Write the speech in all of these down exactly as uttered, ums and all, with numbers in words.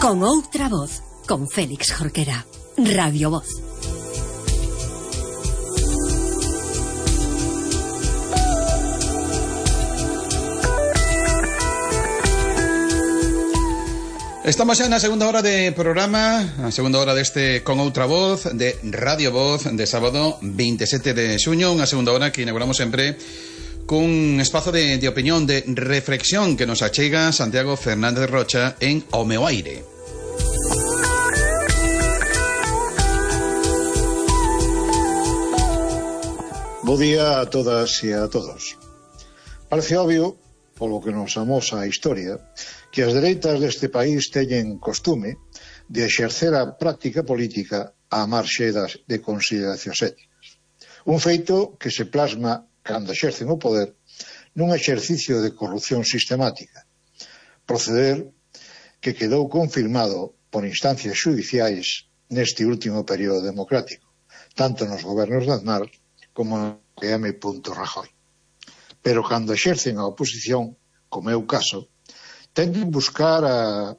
Con outra voz, con Félix Jorquera. Radio Voz. Estamos xa na segunda hora de programa, a segunda hora deste Con Outra Voz, de Radio Voz, de sábado veintisiete de xuño, unha segunda hora que inauguramos sempre cun espazo de, de opinión, de reflexión que nos achega Santiago Fernández Rocha en O Meu Aire. Bo día a todas e a todos. Parece obvio, polo que nos amosa a historia, que as dereitas deste país teñen costume de exercer a práctica política á marxe das de consideracións éticas. Un feito que se plasma cando exercen o poder nun exercicio de corrupción sistemática, proceder que quedou confirmado por instancias xudiciais neste último período democrático, tanto nos gobernos de Aznar como no M. Rajoy. Pero cando exercen a oposición, como é o caso, tenden buscar a,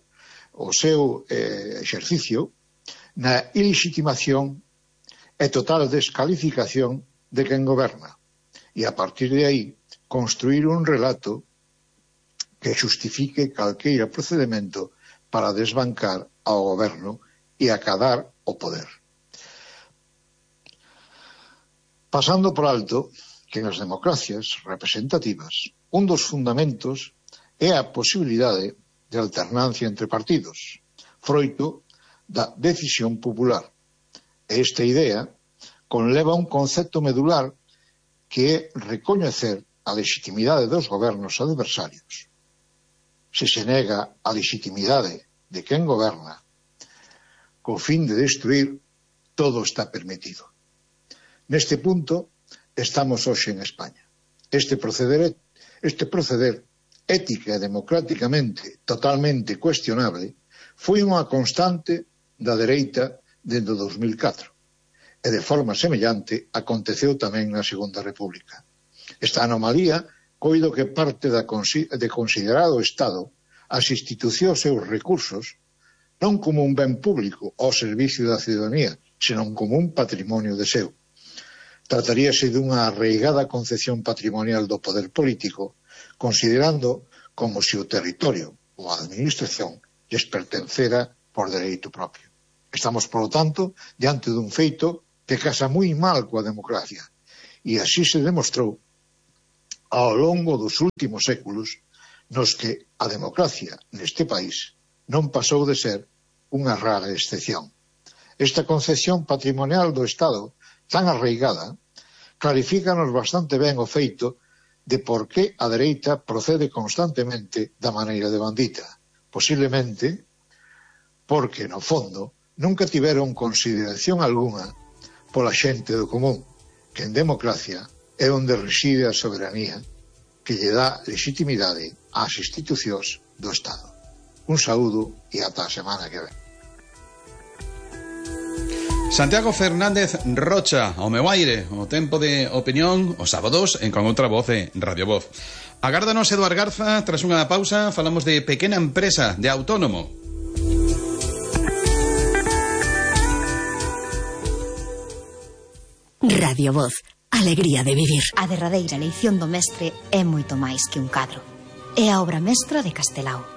o seu eh, exercicio na ilegitimación e total descalificación de quen goberna, e a partir de aí construir un relato que xustifique calqueira procedimento para desbancar ao goberno e acadar o poder. Pasando por alto que nas democracias representativas un dos fundamentos é a posibilidade de alternancia entre partidos, froito da decisión popular. E esta idea conleva un concepto medular que é recoñecer a legitimidade dos gobernos adversarios. Se se nega a legitimidade de quen goberna, co fin de destruir, todo está permitido. Neste punto estamos hoxe en España. Este proceder, este proceder ética e democráticamente totalmente cuestionable foi unha constante da dereita dende o dos mil catro e de forma semellante aconteceu tamén na Segunda República. Esta anomalía coido que parte da de considerar o Estado as institucións e os recursos non como un ben público ao servicio da ciudadanía, senón como un patrimonio de seu. Trataríase dunha arraigada concepción patrimonial do poder político, considerando como se o territorio ou a administración lles pertencera por dereito propio. Estamos, por lo tanto, diante dun feito que casa moi mal coa democracia, e así se demostrou ao longo dos últimos séculos nos que a democracia neste país non pasou de ser unha rara excepción. Esta concepción patrimonial do Estado tan arraigada, clarifícanos bastante ben o feito de por que a dereita procede constantemente da maneira de bandita. Posiblemente porque, no fondo, nunca tiveron consideración algunha pola xente do común, que en democracia é onde reside a soberanía que lle dá legitimidade ás institucións do Estado. Un saúdo e ata a semana que ven. Santiago Fernández Rocha, O Meu Aire, o tempo de opinión, os sábados en Con Outra Voz e Radio Voz. Agárdanos Eduard Garza, tras unha pausa falamos de pequena empresa, de autónomo. Radio Voz, alegría de vivir. A derradeira leición do mestre é moito máis que un cadro. É a obra mestra de Castelao.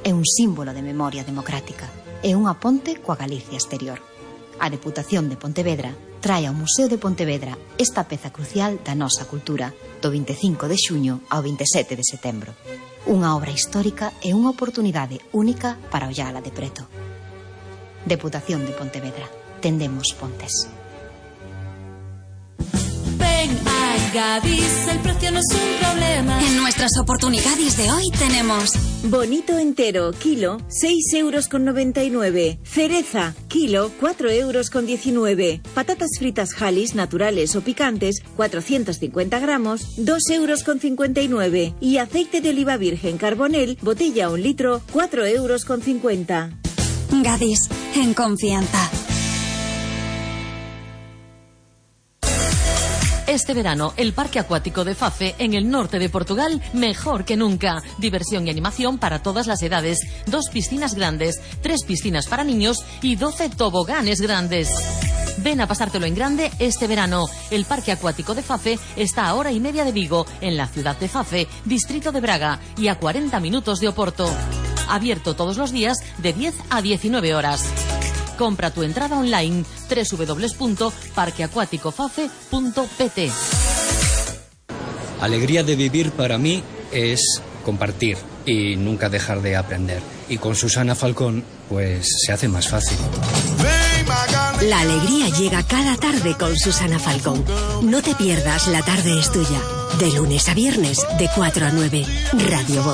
É un símbolo de memoria democrática. É unha ponte coa Galicia exterior. A Deputación de Pontevedra trae ao Museo de Pontevedra esta peza crucial da nosa cultura do vinte e cinco de xuño ao vinte e sete de setembro. Unha obra histórica e unha oportunidade única para ollala de preto. Deputación de Pontevedra. Tendemos pontes. Ven a Gadis, el precio no es un problema. En nuestras oportunidades de hoy tenemos bonito entero, kilo, seis euros con noventa y nueve. Cereza, kilo, cuatro euros con diecinueve. Patatas fritas Halis, naturales o picantes, cuatrocientos cincuenta gramos, dos euros con cincuenta y nueve. Y aceite de oliva virgen Carbonel, botella un litro, cuatro euros con cincuenta. Gadis, en confianza. Este verano, el Parque Acuático de Fafe, en el norte de Portugal, mejor que nunca. Diversión y animación para todas las edades. Dos piscinas grandes, tres piscinas para niños y doce toboganes grandes. Ven a pasártelo en grande este verano. El Parque Acuático de Fafe está a hora y media de Vigo, en la ciudad de Fafe, distrito de Braga, y a cuarenta minutos de Oporto. Abierto todos los días de diez a diecinueve horas. Compra tu entrada online doble u doble u doble u punto parque acuático fafe punto p t. Alegría de vivir para mí es compartir y nunca dejar de aprender. Y con Susana Falcón, pues se hace más fácil. La alegría llega cada tarde con Susana Falcón. No te pierdas La Tarde es Tuya. De lunes a viernes, de cuatro a nueve. Radio Voz.